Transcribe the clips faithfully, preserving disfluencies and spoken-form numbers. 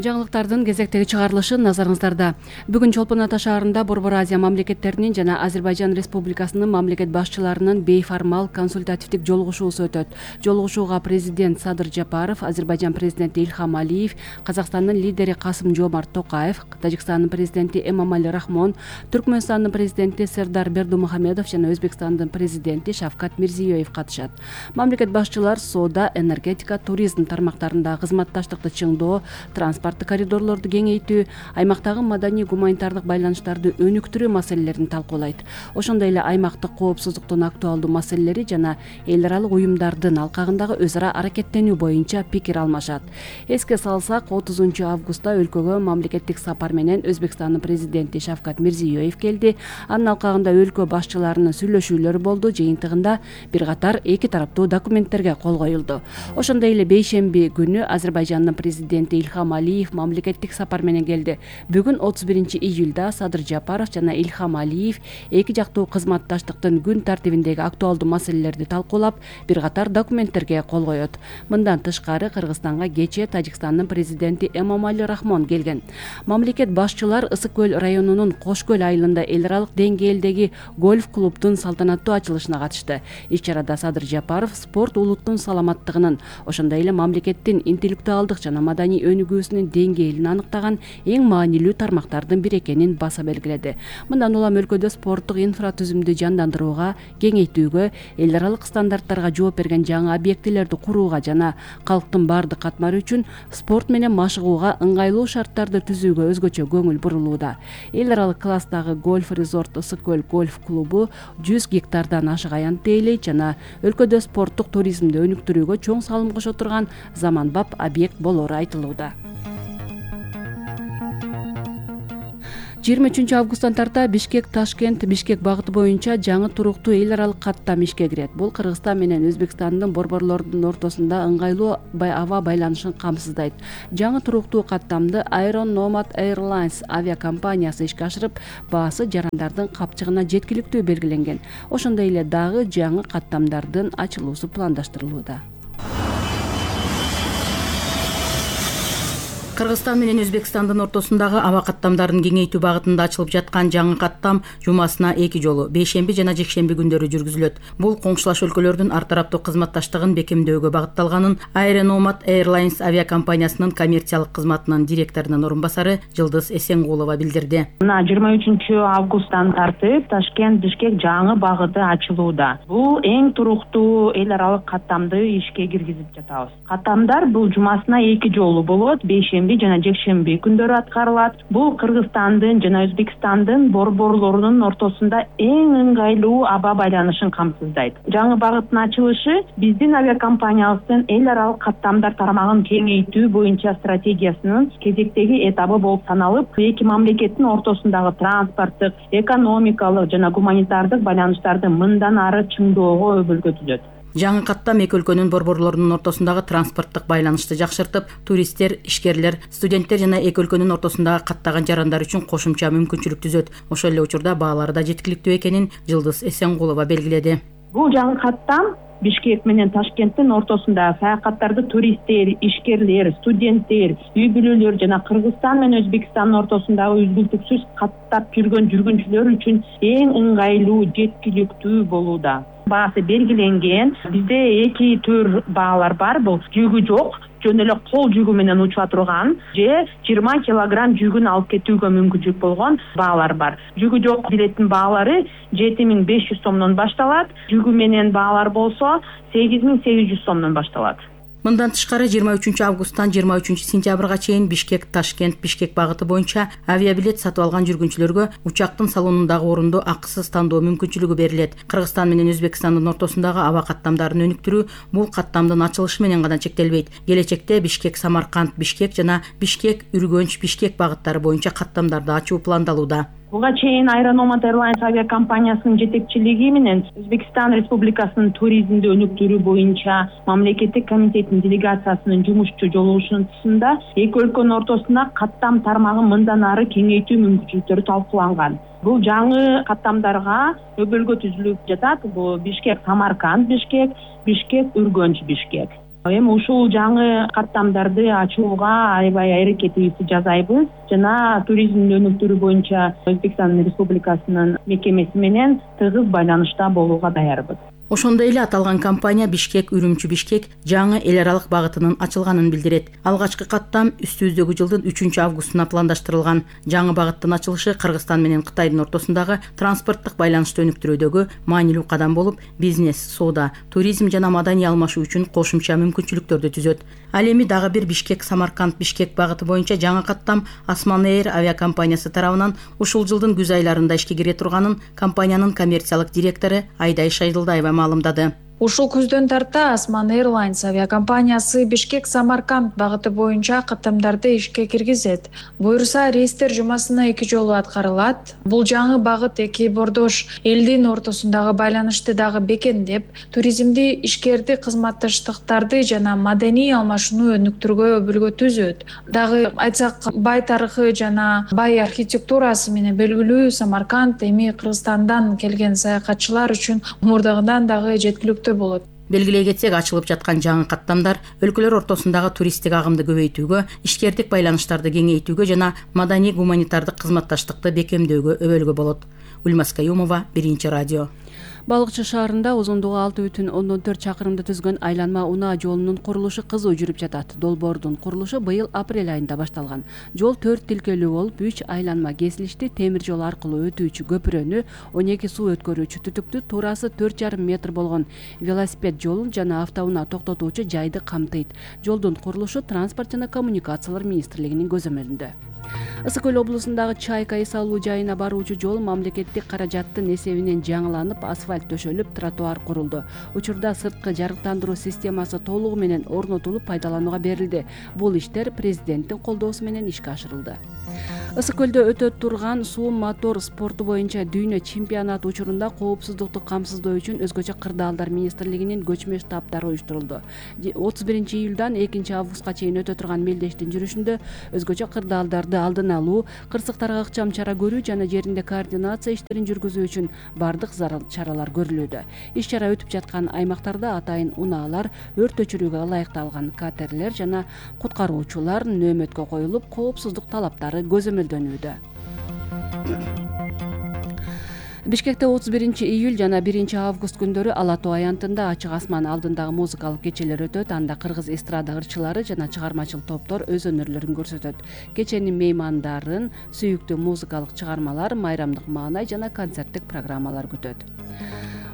Жаңылыктардын кезектеги чыгарылышы назарыңыздарда. Бүгүн Чолпон Ата шаарында Борбор Азия мамлекеттеринин жана Азербайжан Республикасынын мамлекет башчыларынын бейформал консультативдик жолугушуусу өтөт. Жолугушууга президент Садыр Жапаров, Азербайжан президенти Ильхам Алиев, Казакстандын лидери Касым-Жомарт Токаев, Тажикстандын президенти Эмомали Рахмон, Түркмөнстандын президенти Сердар Бердумухамедов жана Өзбекстандын президенти Шавкат Мирзиёев катышат. Мамлекет башчылар соода, энергетика, туризм тармактарында кызматташтыкты чыңдоо, транспорттук коридорлорду кеңейтүү, аймактагы маданий гуманитардык байланыштарды өнүктүрүү маселелерин талкуулайт. Ошондой эле аймактык коопсуздуктун актуалдуу маселелери жана эл аралык уюмдардын алкагындагы өз ара аракеттенүү боюнча пикир алмашат. Эске салсак, отузунчу августта өлкөгө мамлекеттик сапар менен Өзбекстандын президенти Шавкат Мирзиёев келди. Анын алкагында өлкө башчыларынын сүйлөшүүлөрү болду. Жыйынтыгында бир катар эки тараптуу документтерге кол коюлду. Ошондой эле бейшемби күнү Азербайжандын президенти Ильхам Алиев мамлекеттик сапар менен келди. Бүгүн отуз биринчи июлда Садыр Жапаров жана Ильхам Алиев эки жактуу кызматташтыктын күн тартибиндеги актуалдуу маселелерди талкуулап, бир катар документтерге кол коет. Мындан тышкары Кыргызстанга кечээ Тажикстандын президенти Эмомали Рахмон келген. Мамлекет башчылар Ысык көл районунун Кош көл айылында эл аралык деңгээлдеги гольф клубдун салтанаттуу ачылышына катышты. Иш-чарада Садыр Жапаров спорт улуттун саламаттыгынын, ошондой эле мамлекеттин интеллектуалдык жана маданий өнүгүүсүнүн деңгээлин аныктаган эң маанилүү тармактардын бири экенин баса белгиледи. Мындан улам өлкөдө спорттук инфратүзүмдү жандандырууга, кеңейтүүгө, эл аралык стандарттарга жооп берген жаңы объектилерди курууга жана калктын баардык катмары үчүн спорт менен машыгууга ыңгайлуу шарттарды түзүүгө өзгөчө көңүл бурулууда. Эл аралык класстагы гольф резорт Ысык көл гольф клубу жүз гектардан ашык аянт ээлейт жана өлкөдө спорттук туризмди өнүктүрүүгө чоң салым кошо турган заманбап объект болору айтылууда. жыйырма үчүнчү августтан тарта Бишкек-Ташкент Бишкек багыты боюнча жаңы туруктуу эл аралык каттам ишке кирет. Бул Кыргызстан менен Өзбекстандын борборлордун ортосунда ыңгайлуу аба байланышын камсыздайт. Жаңы туруктуу каттамды Iron Nomad Airlines авиакомпаниясы ишке ашырып, баасы жарандардын капчыгына жеткиликтүү белгиленген. Ошондой эле дагы жаңы каттамдардын ачылуусу пландаштырылууда. Кыргызстан менен Өзбекстандын ортосундагы аба каттамдарын кеңейтүү багытында ачылып жаткан жаңы каттам жумасына эки жолу бейшемби жана жекшемби күндөрү жүргүзүлөт. Бул коңшулаш өлкөлөрдүн ар тараптуу кызматташтыгын бекемдөөгө багытталганын Iron Nomad Airlines авиакомпаниясынын коммерциялык кызматынын директорунун орун басары Жылдыз Эсенгулова билдирди. Мына жыйырма үчүнчү августтан тартып Ташкент Бишкек жаңы багыты ачылууда. Бул эң туруктуу эл аралык каттамды ишке киргизип жатабыз. Каттамдар бул жумасына эки жолу болот, бейшемби жана жекшемби күндөрү аткарылат. Бул Кыргызстандын жана Өзбекстандын борборлорунун ортосунда эң ыңгайлуу аба байланышын камсыздайт. Жаңы багыттын ачылышы биздин авиакомпаниябыздын эл аралык каттамдар тармагын кеңейтүү боюнча стратегиясынын кезектеги этабы болуп саналып, эки мамлекеттин ортосундагы транспорттук, экономикалык жана гуманитардык байланыштарды мындан ары чыңдоого өбөлгө түзөт. Жаңы каттам эки өлкөнүн борборлорунун ортосундагы транспорттук байланышты жакшыртып, туристтер, ишкерлер, студенттер жана эки өлкөнүн ортосундагы каттаган жарандар үчүн кошумча мүмкүнчүлүк түзөт. Ошол эле учурда баалары да жеткиликтүү экенин Жылдыз Эсенгулова белгиледи. Бул жаңы каттам Бишкек менен Ташкенттин ортосунда саякаттарды туристтер, ишкерлер, студенттер, үй бүлөлөр жана Кыргызстан менен Өзбекстандын ортосундагы үзгүлтүксүз каттап жүргөн жүргүнчүлөр үчүн эң ыңгайлуу, жеткиликтүү болууда. Баасы белгиленген. Бизде эки төр баалар бар. Бул жүгү жок, жөн эле кол жүгү менен учуа турган же жыйырма килограмм жүгүн алып кетүүгө мүмкүнчүлүк болгон баалар бар. Жүгү жок билеттин баалары жети миң беш жүз сомдон башталат. Жүгү менен баалар болсо сегиз миң сегиз жүз сомдон башталат. Мындан тышкары жыйырма үчүнчү августтан жыйырма үчүнчү сентябрга чейин Бишкек-Ташкент Бишкек багыты боюнча авиабилет сатып алган жүргүнчүлөргө учактын салонундагы орунду акысыз тандоо мүмкүнчүлүгү берилет. Кыргызстан менен Өзбекстандын ортосундагы аба каттамдарын өнүктүрүү бул каттамдын ачылышы менен гана чектелбейт. Келечекте Бишкек-Самарканд Бишкек жана Бишкек-Үргөнч Бишкек багыттары боюнча каттамдарды ачуу пландалууда. Буга чейин Iron Nomad Airlines авиакомпаниясынын жетекчилиги менен Өзбекстан Республикасынын туризмди өнүктүрүү боюнча мамлекеттик комитеттин делегациясынын жумушчу жолугушуусунда эки өлкөнүн ортосунда каттам тармагын мындан ары кеңейтүү мүмкүнчүлүктөрү талкууланган. Бул жаңы каттамдарга өбөлгө түзүлүп жатат. Бул Бишкек Самарканд Бишкек, Бишкек Үргөнч Бишкек. Эми ушул жаңы каттамдарды ачууга аябай аракетибизди жасайбыз жана туризмди өнүктүрүү боюнча Өзбекстан Республикасынын мекемеси менен тыгыз байланышта болууга даярбыз. Ошондой эле аталган компания Бишкек Үрүмчү Бишкек жаңы эл аралык багытынын ачылганын билдирет. Алгачкы каттам үстүбүздөгү жылдын үчүнчү августуна пландаштырылган. Жаңы багыттын ачылышы Кыргызстан менен Кытайдын ортосундагы транспорттук байланышты өнүктүрүүдөгү маанилүү кадам болуп, бизнес, соода, туризм жана маданий алмашуу үчүн кошумча мүмкүнчүлүктөрдү түзөт. Ал эми дагы бир Бишкек Самарканд Бишкек багыты боюнча жаңы каттам Осман Эйр авиакомпаниясы тарабынан ушул жылдын күз айларында ишке кире турганын компаниянын коммерциялык директору Айдай Шайдылдаева маалымдады. Ушул күздөн тарта Осман Airlines авиакомпаниясы Бишкек Самарканд багыты боюнча каттамдарды ишке киргизет. Буюрса, рейстер жумасына эки жолу аткарылат. Бул жаңы багыт эки бордош элдин ортосундагы байланышты дагы бекемдеп, туризмди, ишкерди, кызматташтыктарды жана маданий алмашууну өнүктүрүүгө өбүлгө түзөт. Дагы айтсак, бай тарыхы жана бай архитектурасы менен белгилүү Самарканд эми Кыргызстандан келген саякатчылар үчүн мурдагыдан дагы жеткиликтүү болот. Белгилей кетсек, ачылып жаткан жаңы каттамдар өлкөлөр ортосундагы туристтик агымды көбөйтүүгө, ишкердик байланыштарды кеңейтүүгө жана маданий гуманитардык кызматташтыкты бекемдөөгө өбөлгө болот. Ульмас Каюмова, Биринчи радио. Балыкчы шаарында узундугу алты бүтүн ондон төрт чакырымды түзгөн айланма унаа жолунун курулушу кызуу жүрүп жатат. Долбоордун курулушу быйыл апрель айында башталган. Жол төрт тилкелүү болуп, үч айланма кесилишти, темир жол аркылуу өтүүчү көпүрөнү, он эки суу өткөрүүчү түтүктү, туурасы төрт жарым метр болгон велосипед жолун жана автоунаа токтотуучу жайды камтыйт. Жолдун курулушу Транспорт жана коммуникациялар министрлигинин көзөмөлүндө. Ысык көл облусундагы Чайка эс алуу жайына баруучу жол мамлекеттик каражаттын эсебинен жаңыланып, асфальт төшөлүп, тротуар курулду. Учурда сырткы жарыктандыруу системасы толугу менен орнотулуп, пайдаланууга берилди. Бул иштер президенттин колдоосу менен ишке ашырылды. Ысык көлдө өтө турган суу мотор спорту боюнча дүйнө чемпионаты учурунда коопсуздукту камсыздоо үчүн өзгөчө кырдаалдар министрлигинин көчмө штабтары уюштурулду. отуз биринчи июлдан экинчи августка чейин өтө турган мелдештин жүрүшүндө өзгөчө кырдаалдарды алдын алуу, кырсыктарга ыкчам чара көрүү жана жеринде координация иштерин жүргүзүү үчүн бардык зарыл чаралар көрүлүүдө. Иш чара өтүп жаткан аймактарда атайын унаалар, өрт өчүрүүгө ылайыкталган катерлер жана куткаруучулар нөөмөткө коюлуп, коопсуздук талаптары көзөмөлдөнүүдө. Бишкекте отуз биринчи июль жана биринчи август күндөрү Ала Тоо аянтында ачык асман алдындагы музыкалык кечелер өтөт. Анда кыргыз эстрада ырчылары жана чыгармачыл топтор өз өнөрлөрүн көрсөтөт. Кеченин меймандарын сүйүктүү музыкалык чыгармалар, майрамдык маанай жана концерттик программалар күтөт.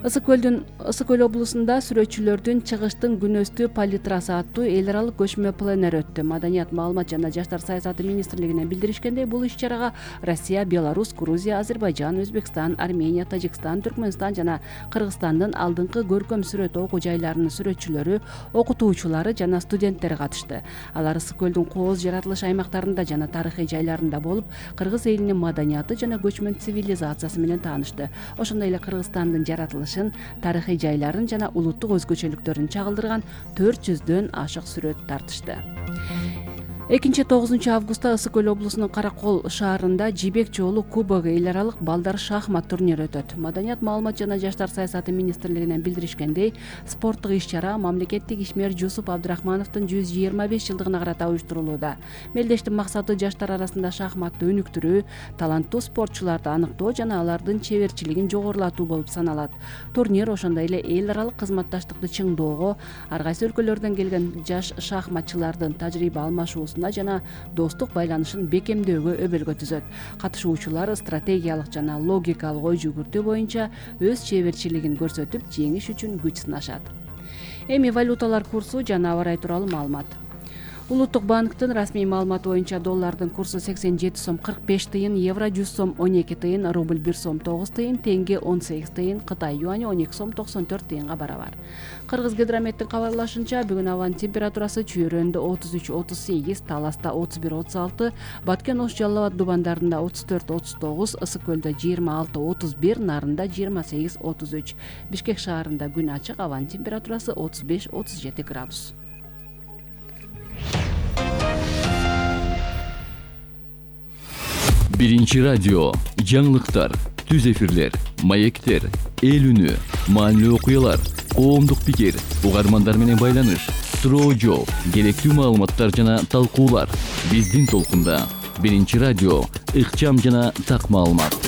Ысык көлдүн Ысык көл облусунда сүрөтчүлөрдүн чыгыштын күнөстүү палитрасы аттуу эл аралык көчмө пленер өттү. Маданият, маалымат жана жаштар саясаты министрлигинен билдиришкендей, бул иш-чарага Россия, Беларусь, Грузия, Азербайжан, Өзбекстан, Армения, Тажикстан, Түркмөнстан жана Кыргызстандын алдыңкы көркөм сүрөт окуу жайларынын сүрөтчүлөрү, окутуучулары жана студенттери катышты. Алар Ысык көлдүн кооз жаратылыш аймактарында жана тарыхый жайларында болуп, кыргыз элинин маданияты жана көчмөн цивилизациясы менен таанышты. Ошондой эле Кыргызстандын жаратылышы, тарыхый жайларын жана улуттук өзгөчөлүктөрүн чагылдырган төрт жүздөн ашык сүрөт тартышты. экинчи тогузунчу августта Ысык көл облусунун Каракол шаарында Жибек жолу кубогу эл аралык балдар шахмат турнири өтөт. Маданият, маалымат жана жаштар саясаты министрлигинен билдиришкендей, спорттук иш-чара мамлекеттик ишмер Жусуп Абдрахмановдун жүз жыйырма беш жылдыгына карата уюштурулууда. Мелдештин максаты жаштар арасында шахматты өнүктүрүү, таланттуу спортчуларды аныктоо жана алардын чеберчилигин жогорулатуу болуп саналат. Турнир ошондой эле эл аралык кызматташтыкты чыңдоого, ар кайсы өлкөлөрдөн келген жаш шахматчылардын тажрыйба алмашуусу жана достук байланышын бекемдөөгө өбөлгө түзөт. Катышуучулар стратегиялык жана логикалык ой жүгүртүү боюнча өз чеберчилигин көрсөтүп, жеңиш үчүн күч сынашат. Эми валюталар курсу жана аба ырайы тууралуу маалымат. Улуттук банктын расмий маалыматы боюнча доллардын курсу сексен жети сом кырк беш тыйын, евро жүз сом он эки тыйын, рубль бир сом тогуз тыйын, тенге он сегиз тыйын, Кытай юани он эки сом токсон төрт тыйынга барабар. Кыргыз гидрометтин кабарлашынча, бүгүн абанын температурасы Чүйрөндө отуз үч отуз сегиз, Таласта отуз бир отуз алты, Баткен Ош Жалал Абад Дубандарында отуз төрт отуз тогуз, Ысык көлдө жыйырма алты отуз бир, Нарында жыйырма сегиз отуз үч. Бишкек шаарында күн ачык, абанын температурасы отуз беш отуз жети градус. Биринчи радио, жаңылыктар, түз эфирлер, маектер, эл үнү, маанилүү окуялар, коомдук пикир, угармандар менен байланыш, суроо жооп, керектүү маалыматтар жана талкуулар. Биздин толкунда биринчи радио, ыкчам жана так маалымат.